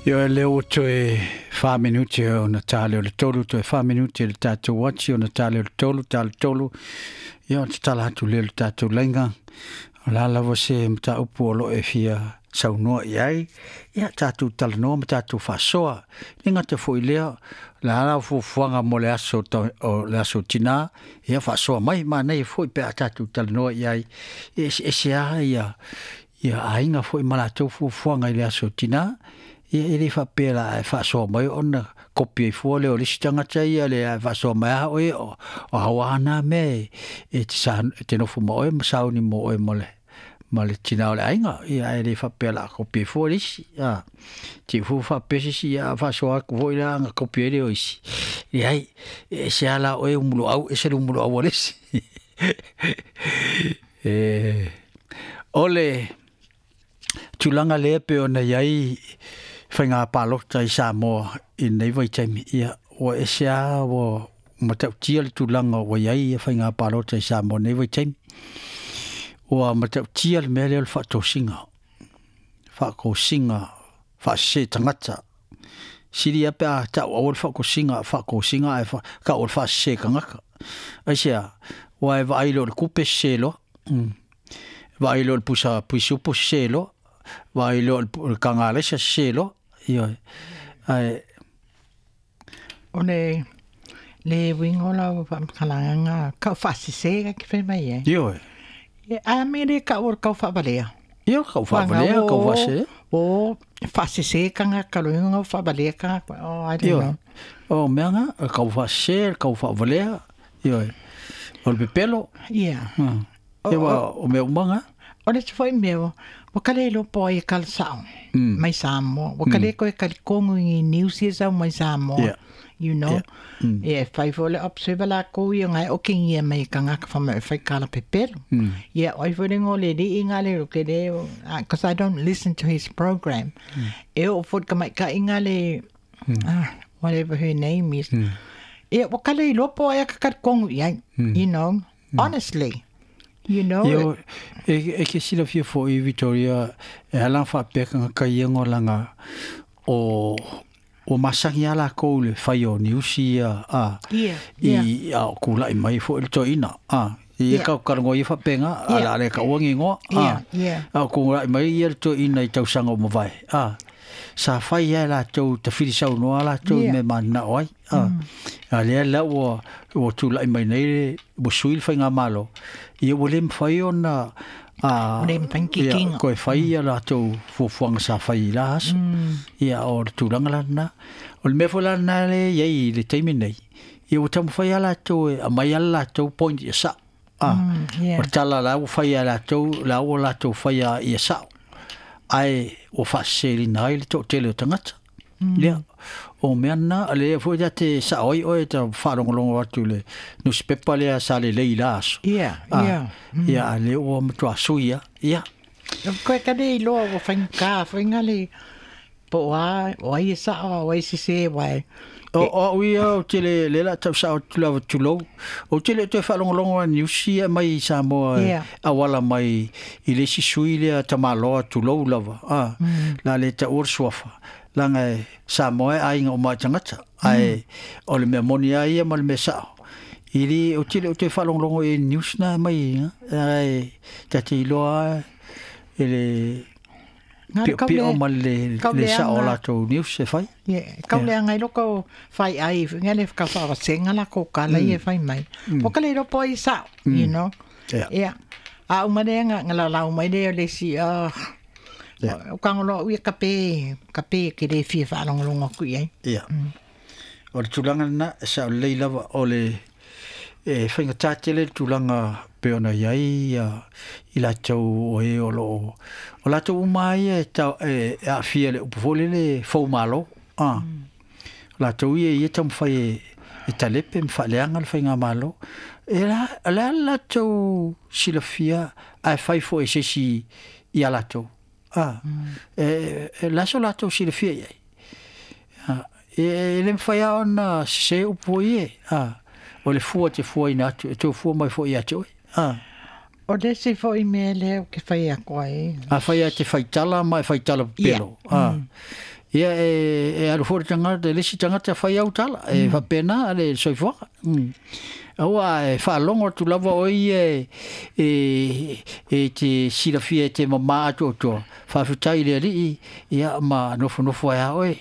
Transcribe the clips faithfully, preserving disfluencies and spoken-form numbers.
Ioe lea ua toe fa minute ona tale o le tolu, toe fa minute le tatou uati ona tale o le tolu, tale tolu. Ia ona tatala atu lea o le tatou laiga. O le a lava se mataupu o lo o e fia saunoa i ai. Ia tatou talanoa ma tatou faasoa. E le gata foi lea, o le a lau fuafuaga mo le aso, o le aso tinā, ia faasoa mai manaia foi pe a tatou talanoa i ai. E eseese lava ia, ia aiga foi ma latou fuafuaga i le aso tinā. Ia e le faapea la e faasoa mai ona kopi ai fua lea o le isi tagata ia le ae faasoa mai a oe o, o aua na mea e te, sa, e te nofo ma oe ma sauni mo oe ma le, ma le tina o le aiga. Ia ae le faapea la kopi ai fua le isi. A, te fu faapea se isi ia faasoa atu foi la aga kopi ai lea o isi. Leai, e ese lava la oe umuloau, ese le umuloau a le isi. E, o le tulaga lea pe ona i ai faiga palota i Samoa i lenei vaitaimi, ia ua ese lava ua matautia le tulaga ua i ai ia faiga palota i Samoa nei vaitaimi. Ua matautia le mea lea o le faatosiga, faatosiga faasese tagata. Sili lava pe a tau aua le faatosiga, faatosiga ae tau o le faasese tagata. Aisea, ua e vaai loa i le kupe sese loa. Mm. Vaai loa i le pusa puisupu sese loa. Vaai loa i le kagalaisa sese loa. Ioe. Ae O le le uiga o lau faamatalaga kau faasese ka ke fai mai ai. Ioe. E a me le kau o le kau faavalea. Ia kau faavalea, kau faasese. O faasese kanga ka lo inga faavalea ka. Oh, I don't Ioe. know. O mea nga, kau faasese, kau faavalea. Ioe. O le pepelo. Yeah. Hmm. O, Ia wa o mea uma nga. O le foi mea, ua kale iloa po ai e kala sa'o Mm. mai Samoa. Ua kale koe kali kongo i news ia sau mai Samoa. Yeah. You know. Yeah. Mm. E fai foi le observe la ko ia ngai o kingi mai kanga ka fama e fai kala pepelo. Mm. Yeah, oi foi le ngole li inga le ke le because I don't listen to his program. E o foi ka mai ka inga le ah, whatever her name is. Mm. E ua kale iloa po ai ka kali kongo ia, you know, honestly. You know, Ia o, e, e ke silafia foi Victoria, e ala faapea ka ka ia ngolanga o o masangi ala ko le fai o niusi ia a Yeah, yeah. i a kula i mai foi le toina a i Yeah. ka ka ngo i faapega Yeah. ala le ka uangi ngoa a Yeah, yeah. a kula i mai ia le toina i tausaga o mavae a sa fai ia latou tafili saunoa latou Yeah. me mananao ai a a lea la ua ua tulai mai nei le ua sui le faigamalo ia ua le mafai ona a Ua le mafai ni ia, kikiga. koe fai ia latou fuafuaga sa fai i la aso ia o le tulaga la lena o le mea foi la lena le i ai i le taimi nei ia ua taumafai lava latou e aumai lava le latou point ia sa'o a Mm, yeah. o le tala la ua fai a latou la ua latou faia ia sa'o ae ua faaseselina ai le to'atele o tagata lea o mea lena lea foi ta te sa'o ai oe ta faalogologo atu i le nusipepa lea sa lelei i la aso Yeah, Ah, yeah. ia a lea ua matuā sui a ia Koe ka le iloa ua faigata foi nga le po o a o ai e sa'o o ai sese wai. O o au ia o te le le la tau sa'o atu lava tulou o te le toe faalogologo a niusi e mai i Samoa e Yeah. auala mai i le isi sui lea tamaloa tulou lava a la le taua le suafa laga e Samoa e aiga uma i tagata ae o le mea moni a ia ma le mea sa'o i le o te le o toe faalogologo i news na mai ae ta te iloa e le Nga le kau piopio le- ma le kau le sa'o o leaga- latou news e fai. Yeah, kau leaga i loko fai ai nga le ka whaawasenga la ko kala i e fai mai. Po ka le iloa po ai sa'o, you know. Yeah. Yeah. A uma le nga nga la lau mai le o le si ah Yeah. o kangolo ui ka pe ka pe ke le fia whaalongolongo ku i ai. Ia. O le tulaga lena, e sa'o lelei lava o le e faigata tele le tulaga pe ona i ai ia i latou o e o loo o latou uma ai e tau e e aafia i le upu foi lele foumalo a o latou ia ia taumafai e e talepe ma faaleaga le faigamalo e la o le a le latou silafia ae fai foi e se isi ia latou a e e le aso latou silafia i ai a e e le mafai lava ona sesē upu foi e a o le fua te fuaina atu e toe fua mai foi ia te oe a O le si foi mea lea o ke whai ako ai. a fai a te faitala ma e faitala Ia. pepelo a Ia e e alu foi le tagata le isi tagata fai au tala e faapena le soifuaga. Aua e faalogo atu lava o ia e e e te silafia e te mamā atoatoa faafetai i le alii ia ma nofonofo ai a oe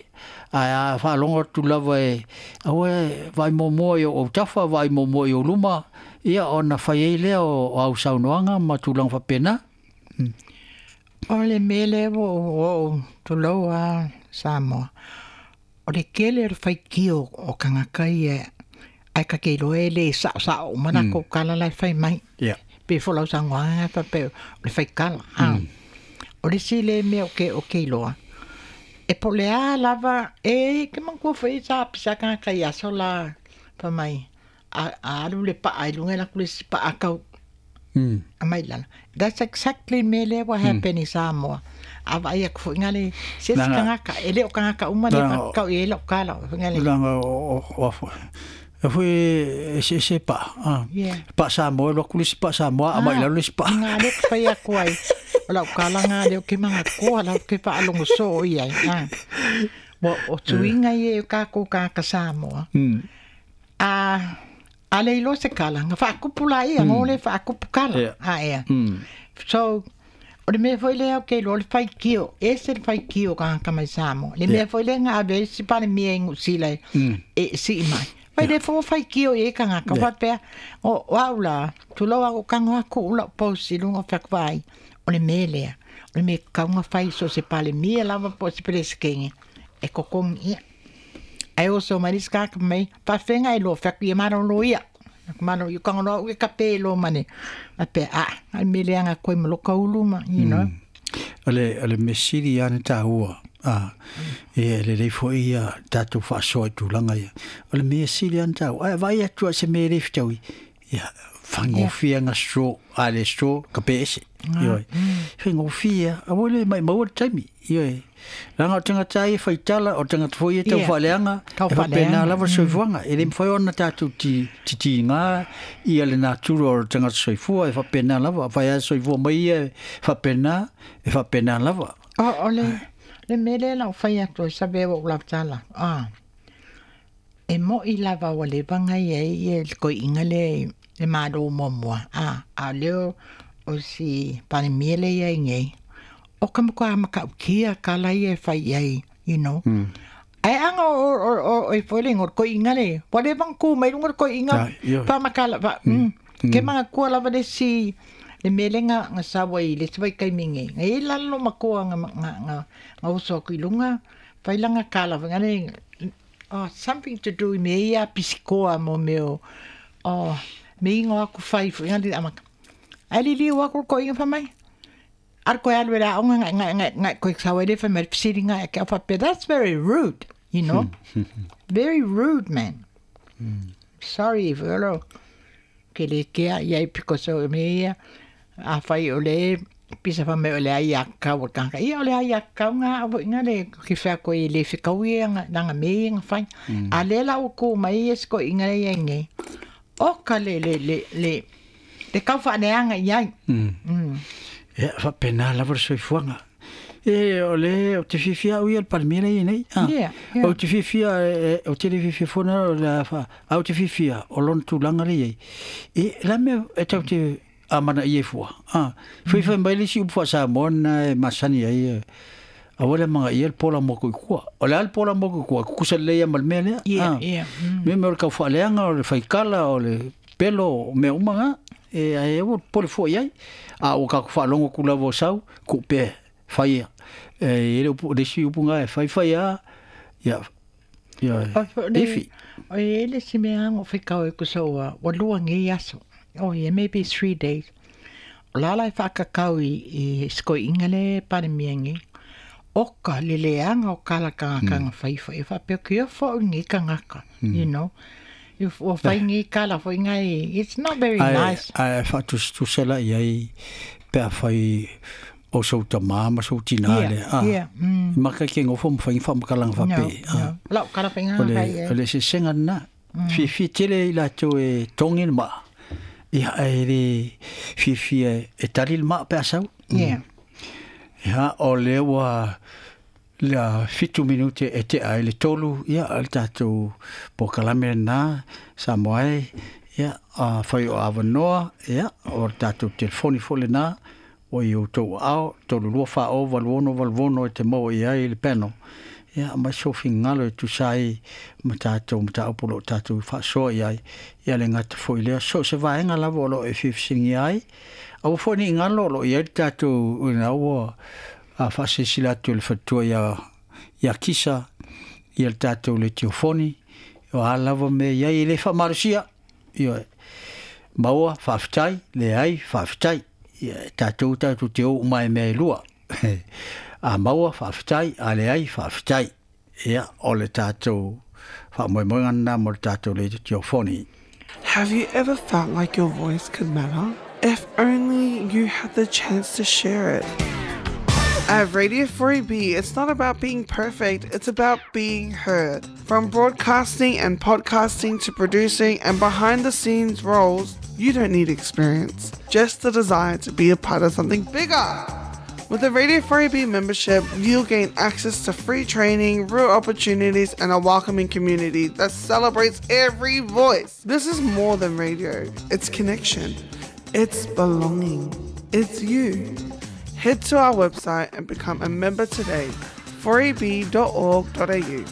ae a faalogo atu lava e aua e vaai muamua i ou autafa vaai muamua i ou luma ia ona fai ai lea o au saunoaga ma tulaga faapena. O le mea lea ua ou tulou a Samoa. O le kele o le faitio o kangaka ia ai ka ke iloa e le sa'osa'o uma latou kala la e fai mai. Yeah. Pe fo lau saunoaga faapea o le faikala. A. O le isi lea mea o ke o ke iloa. E po o le a lava e ke manatua foi sa pisa kangaka i aso la fai mai a a alu le pa'a i luga e alu atu le isi pa'a kau Mm. a mai lalo. That's exactly le mea lea ua happen i Samoa. A vaai atu foi nga le se isi Leaga kangaka e le o kangaka uma le leaga faakau i ai lau kala foi nga le leaga o o e foi e se se pa ah Yeah. pa Samoa lo atu le isi pa Samoa a mai Ah, lalo le isi pa. nga le fai atu ai. O lau kala nga leo ke manga koa lau ke whaalongo so i ai. Ah. Wa o tuinga i e kākou kāka Samoa. Mm. A a le iloa se kala, nga whaakupu la ia, ngo le whaakupu kala. Yeah. A ea. Mm. So, o le mea foi lea o ke iloa le whaikio, e se le whaikio kāka mai Samoa. Le mea Yeah. foi lea nga ave si pane mea ingu sila e, Mm. e si mai. Fai le fo whaikio i e kangaka, Yeah. whapea, o o au la, tulou au kango aku ula posi lunga whakwai, o le mea lea, o le mea kaunga whai so se pale mea lava po se peleskenge, e kokongi ia. Ai o so mai skaka mai, whawhenga e lo whaku ia maro lo ia. Maro i kango loa ue kape lo mane. A pe a, ai mea lea nga koe maloka ulu ma, you know. O le o le mea sili ana tāua a e lelei foi ia tatou faasoa i tulaga ia o le mea sili ana tāua ae vaai atu a se mea e le fetaui ia faigofie ga straw a le straw ka pe ese ioe faigofie aua le maumau le taimi ioe leaga o tagata ia e faitala o tagata foi ia tau Yeah. faaleaga Tau e faapena faaleaga. lava le soifuaga e le mafai ona tatou ti titigā ia le natura o le tagata soifua e faapena lava afai a soifua mai ia e faapena e faapena lava. O, o le, le mea lea lau fai atu ai sabe o lau tala. Ah. E mo i lava ua leva ngai ai ia le koi'iga le le malo muamua. Ah, a o lea o si Palemia le iai nei. O ka makuā maka'ukia kala ia e fai ai, you know. Mm. Ae aga o o o o e foi le igoa o le koi'iga le ua leva ona ku mai luga o le koi'iga Ah, ioe. faamakala fa mm. Ke magakoa lava le isi le mea lea ga ga sau ai i le isi vaitaimi nei. Ga i lalo makoa ga ga ga ga oso atu i luga fai laga kala faiga le oh something to do i mea ia pisikoa mo mea o oh me igoa aku fai foi le amaka. Ae liliu aku le koi'iga fai mai. Alu koe alu e le a'oga gae gae gae gae koe sau ai le fai mai le fesiliga e ke au faapea that's very rude, you know. Very rude man. Sorry if olo ke le kea iai because o mea ia afai o le pisa fai mai o le ai a kau o le tagata. Ia o le ai a kau ga avoiga le ke fea koe e le fekaui e aga laga mea ia ga fai. A lea la ua ku mai ia siko'iga lea iai nei. O ka le le le le le kau fa'aleaga iai. Mm. Mm. Ia faapena lava le soifuaga e o le o te fiafia au ia le Palemia lea nei ah Yeah, yeah. o te fiafia e o te le fiafia fona o le fa au te fiafia o lona tulaga le iai e la mea e tau te amana ia fua ah fai fai mai le isi upu faa-Samoa lena e masani ai e aua le magaia le pola mo ko i kua o le a le pola mo ko i kua kukusa lelei ia ma le mea lea Yeah, ah yeah. Mm. mea mea o le kaufaaleaga o le faikala o le pelo o mea uma ga e ae ua pole fua iai a ua kakou faalogo aku lava o sau ku'upea faia e le upu le isi upu ga e faifai a ia ia O fo le ifi. o e le si mea o whekau e kusoa, ua lua ngei aso. Oh yeah, maybe three days. O lala e whakakau i, i sikoi'iga le Palemia nei. O ka le leaga o kala kangakanga whaifa. E whapea kia whau ngi kangaka, you know. I o whai ngi kala whai ngai. It's not very Ae nice. ae faatusatusa la iai pe afai o sou tamā ma sou tinā Yeah, le ah yeah. Mm. maka ke ngofo ma fai faamakalaga No, faape ah no. Lau kala whai o ngā le whai o e. le sesega lena fiafia tele i latou e togi le maa ia ae le fiafia e tali le maa pe a sau. Yeah. Ia o lea ua La fitu minute e te ai le tolu, ia, le tātou pokalame na, sa moe, ia, a whai o awanoa, ia, o le tātou telefoni fole na, o i o tau ao, tolu lua wha o, valuono, valuono e te mau i ai le peno. Ia, mai sofi ngalo e tusai, ma tātou, ma tāupo lo tātou whaasoa i ai, ia le ngata foi lea, so se vaenga lava o lo e whiwhisingi ai, aua foi ni ngalo lo i ai le tātou, ina ua, a whaasesila atu le whatua ia, ia kisa, ia le tātou le tiofoni, o a lava me ia i le whamarusia, ia maua whaaftai, le ai whaaftai, ia tātou tātou te o umai mea e lua. A maua whaaftai, a le ai whaaftai, ia o le tātou whaamoemoenga nā mo le tātou le tiofoni. Have you ever felt like your voice could matter? If only you had the chance to share it. At Radio four A B, it's not about being perfect, it's about being heard. From broadcasting and podcasting to producing and behind-the-scenes roles, you don't need experience, just the desire to be a part of something bigger. With a Radio four A B membership, you'll gain access to free training, real opportunities, and a welcoming community that celebrates every voice. This is more than radio. It's connection. It's belonging. It's you. Head to our website and become a member today, four A B dot org dot A U.